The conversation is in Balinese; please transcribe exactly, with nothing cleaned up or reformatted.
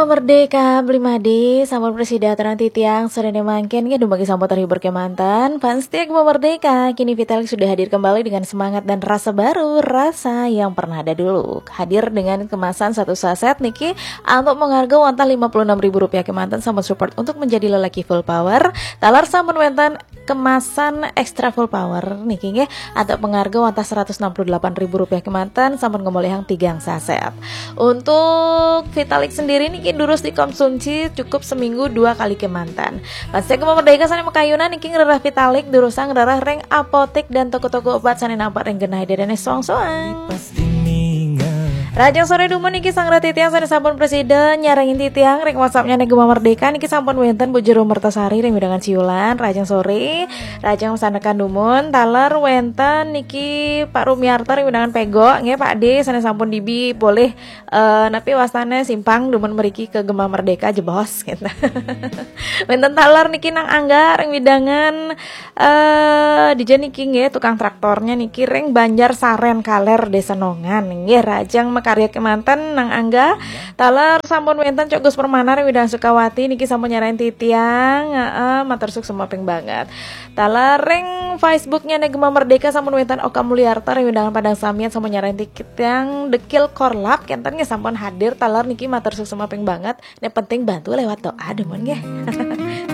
Merdeka, Beli Made, sampun prasida aturang titiang, sore mangkin nggih dumogi sampun terhibur kemanten. Fans setia Gema Merdeka, kini Vitalik sudah hadir kembali dengan semangat dan rasa baru, rasa yang pernah ada dulu. Hadir dengan kemasan satu saset niki antuk pangarga wantah lima puluh enam ribu rupiah kemanten sampun support untuk menjadi lelaki full power. Taler sampun wenten kemasan extra full power niki nggih antuk pangarga wantah seratus enam puluh delapan ribu rupiah kemanten sampun ngamolihang tigang saset. Untuk Vitalik sendiri niki durus dikonsumsi cukup seminggu dua kali kemanten. Fans setia Gema Merdeka sane makayunan niki ngrereh Vitalik durusang ngrereh ring apotek dan toko-toko obat sane nampak ring genah dedene song-soang. Rajang sore dumun niki sang titiang sane sampun prasida nyarengin titiang ring WhatsApp-nyane Gema Merdeka niki sampun wenten Bu Jero Mertasari ring wewidangan Ciulan. Rajang sore, rajang sandekan dumun, taler wenten niki Pak Rumiarto ring wewidangan Pego nggih Pak D sane sampun dibi polih eh napi wastane simpang dumun mriki ke Gema Merdeka jebos gitu. Wenten taler niki Nang Angga ring wewidangan eh dija niki nggih tukang traktornya niki ring Banjar Saren Kaler Desa Nongan nggih rajang makarya kemanten Nang Angga. Taler sampun wenten Cok Gus Permana ring wewidangan Sukawati niki sampun nyarengin titiang. Heeh, matur suksma ping banget. Taler ring Facebook-nyane Gema Merdeka sampun wenten Oka Mulyarta ring wewidangan Padang Samiat sampun nyarengin titiang Dekil Korlap kenten nggih sampun hadir taler niki matur suksma ping banget. Nek penting bantu lewat doa dumun nggih.